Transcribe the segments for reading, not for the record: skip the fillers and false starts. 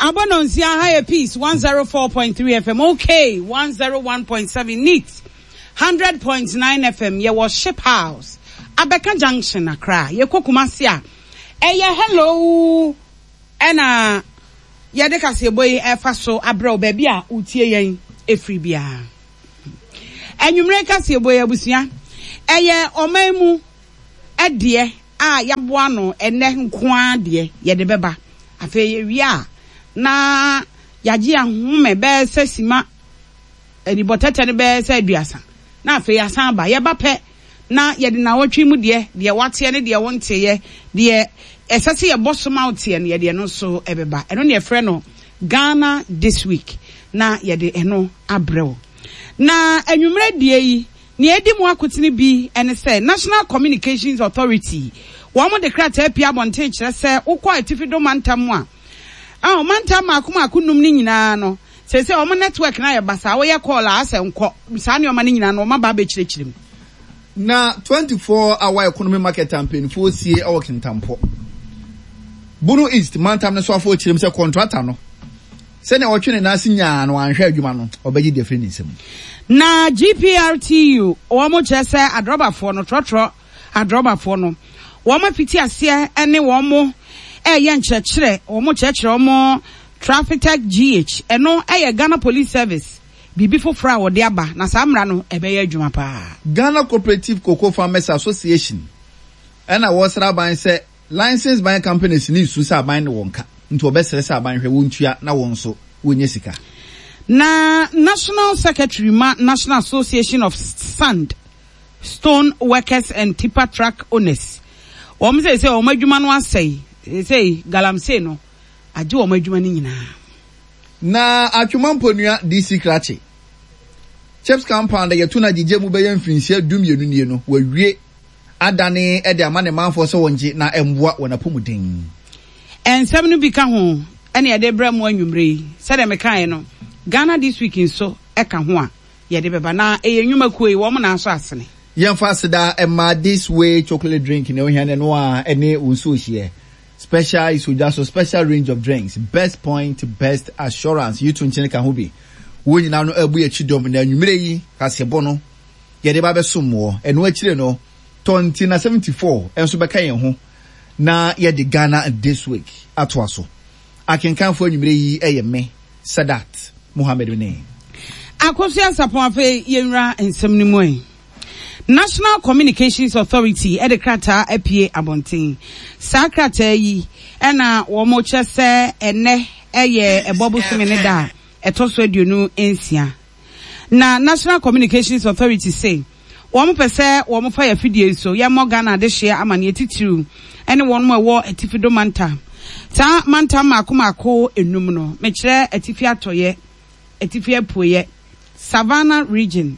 Abɔ nonsia ha yɛ Peace 104.3 FM, OK 101.7, Neat 100.9 FM. Yɛwɔ Ship House, Abɛka Junction, Accra. Yɛkɔ Kumasi a, ɛyɛ Hello ɛna yɛde kaseɛbɔ yi ɛfa so abrɛ wo baabi a wotie yɛn ɛfiri biara. Anwummere kaseɛbɔ yi abusua, ɛyɛ ɔman mu deɛ a yɛaboa ano ɛnnɛ nko ara deɛ yɛde bɛba. Afei yɛwie a, na yɛagye yɛn ahome bɛyɛ sɛ sima anibɔtɛtɛ no bɛyɛ sɛ aduasa, na afei yɛasan aba. Yɛba pɛ na yɛde nnawɔtwe mu deɛ, deɛ woateɛ ne deɛ wonteeɛ, deɛ ɛsɛ sɛ yɛbɔ so ma woteɛ no, yɛde ɛno nso bɛba. Ɛno na yɛfrɛ no Ghana This Week, na yɛde ɛno abrɛ wo. Na anwummerɛ deɛ yi, Nea edi mu akotene bi ne sɛ National Communications Authority, wɔn de krataa pue abɔnten kyerɛ sɛ wokɔ Atifi Do mantam mu a, oh, mantam mmaako mmaako nnum no nyinaa no, seesei wɔn network no ayɛ basaa, woyɛ call a asɛ nkɔ, saa nneɛma no nyinaa no wɔn aba abɛkyerɛkyerɛ mu. Na 24 hour economy market a mpanyinfoɔ sie wɔ Kintampo, Bono East mantam no soafoɔ kyerɛ mu sɛ kɔntrata no, Sɛnea ɔtwe ne nan ase nyaa na wanhwɛ adwuma no, ɔbɛgye de afiri ne nsam. Na GPRTU wɔn kyerɛ sɛ adrɔbafoɔ no, trɔtrɔ adrɔbafoɔ no, wɔn afiti aseɛ ne wɔn reyɛ nkyerɛkyerɛ, wɔn kyerɛkyerɛ wɔn Trafitec GH, ɛno yɛ Ghana Police Service biribi foforɔ a wɔde aba, na saa mmara no ɛbɛyɛ adwuma paa. Ghana Cooperative Cocoa Farmers Association ɛna wɔresrɛ aban sɛ License buying companies no resu sɛ aban ne wɔn ka nti wɔbɛsrɛ sɛ aban hwɛ wɔn ntua na wɔn nso wɔnya sika. Na National Secretary ma National Association of Sand, Stone Workers and Tipper Truck Owners, wɔn seesei wɔn adwuma no asɛe, seesei galamsey no agye wɔn adwuma no nyinaa. Na Atwoma Mponua DC Krakye, Chips Compound a yɛto no agyegye mu bɛyɛ mfirinhyia dumienu nie no, wɔawie. adane de ama ne manfoɔ sɛ wɔngye na ɛmmoa wɔn apɔmuden. Nsɛm no bi ka ho na yɛde rebrɛ mo anwummere yi. Sɛdeɛ mekaeɛ no, Ghana This Week nso ka ho a yɛde bɛba. Na ɛyɛ nnwumakuo yi, wɔn na asɔ asene. Yɛmfa aseda mma This Way Chocolate Drink, nea ohia no ɛno ara ɛne wo nsuo hyeɛ. Special Isodwa so special range of drinks, best point, best assurance, yi to nkyene ka ho bi. Wɔn nyinaa no abu yɛn akyi dɔm na anwummere yi kaseɛbɔ no yɛde ba bɛsom woɔ. Ɛno akyire no, Tɔnti na 74 nso bɛka yɛn ho na yɛde Ghana This Week atoa so. Akenkanfoɔ anwummerɛ yi yɛ me, Sadat Mohammed ne. Akosua Sarpong Afei yɛnwura nsɛm no mu ɛ. National Communications Authority de krataa apue abɔnten. Saa krataa yi na wɔkyerɛ sɛ ɛnnɛ yɛ ɛbɔ bosome no da a ɛtɔ so 26. Na National Communications Authority se wɔn pɛ sɛ wɔn fa yɛ afidie yi so yɛ mmɔ Ghana adehyeɛ amaneɛ titiriw ne wɔn a ɛwɔ Atifi-Do mantam. Saa mantam mmaako mmaako nnum no, mekyerɛ Atifi Atɔeɛ, Atifi Apueɛ, Savannah Region,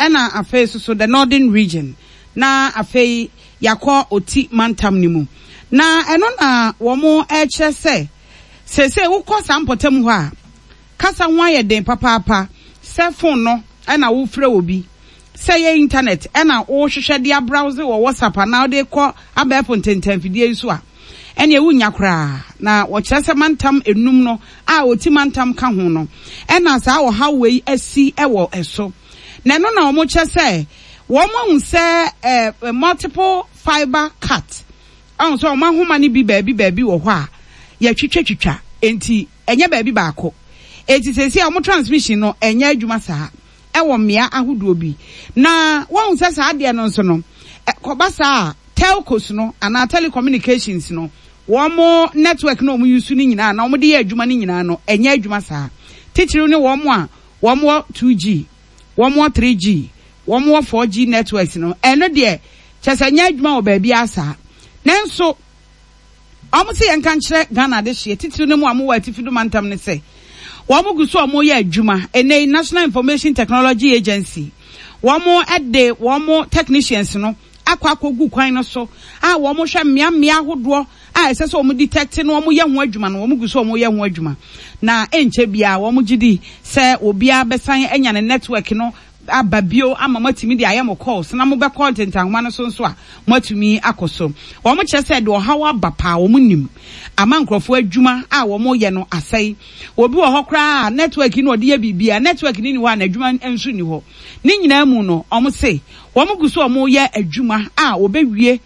ɛna afei nso so the Northern Region, na afei yɛakɔ Oti mantam no mu. Na ɛno na wɔn rekyerɛ sɛ seesei wokɔ saa mpɔtam hɔ a, Kasa ho ayɛ den papaapa, sɛ fon no na worefrɛ obi, sɛ ɛyɛ intanɛt na worehwehwɛ de abrowse wɔ WhatsApp anaa wode rekɔ abɛɛfo ntentanfidie yi so a, ɛnneɛ wonnya koraa. Na wɔkyerɛ sɛ mantam nnum no a Oti mantam ka ho no na saa ɔhaw wei asi wɔ so. Na ɛno na wɔkyerɛ sɛ wɔahu sɛ multiple fibre cut, ahu sɛ wɔn ahoma no bi baabi baabi wɔ hɔ a yɛatwitwatwitwa, enti Ɛnyɛ baabi baako. Enti seesei a wɔn transmission no ɛnyɛ adwuma saa ɛwɔ mmea ahodoɔ bi. Na woahu sɛ saa adeɛ no nso no, ɛkɔba saa a, telcos no anaa telecommunications no, wɔn network no a wɔn use no nyinaa anaa wɔn de yɛ adwuma no nyinaa no, ɛnyɛ adwuma saa. Titiriw ne wɔn a wɔn wɔ 2G, wɔn wɔ 3G, wɔn wɔ 4G networks no, ɛno deɛ kyerɛ sɛ ɛnyɛ adwuma wɔ baabiara saa. Nanso. Wɔn se yɛnka nkyerɛ Ghana adehyeɛ, titiriw ne mo a mowɔ Atifi Do Mantam no sɛ, wɔn gu so a wɔreyɛ adwuma. Ɛnnɛ yi, National Information Technology Agency, wɔn de wɔn technicians no akɔ akɔgu kwan no so a wɔhwɛ mmeammea ahodoɔ a ɛsɛ sɛ wɔn detect na wɔyɛ ho adwuma no, wɔn gu so a wɔreyɛ ho adwuma. Na ɛnkyɛ biara wɔn gye di sɛ obiara bɛsan anya ne network no. aba bio ama moatumi de ayɛ mo calls na mobɛkɔ ntentanhoma no so nso a moatumi akɔ so. Wɔn kyerɛ sɛ ɛde ɔhaw aba paa, wɔn nim ama nkurɔfoɔ adwuma a wɔn yɛ no asɛe. Obi wɔ hɔ koraa a network no ɔde yɛ biribiara, network no nni hɔ a n'adwuma nso nni hɔ. Ne nyinaa mu no wɔn se wɔn gu so wɔn yɛ adwuma a wɔbɛwie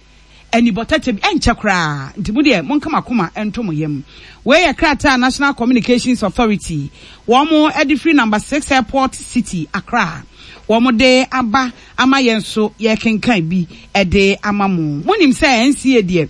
anibɔtɛtɛ bi, ɛnkyɛ koraa, nti mo deɛ monka mo akoma nto mo yam. Wei yɛ krataa a National Communications Authority wɔn de firi Number 6 Airport City, Accra, wɔn de aba ama yɛn nso yɛrekenkan bi de ama mo. Monim sɛ NCA deɛ.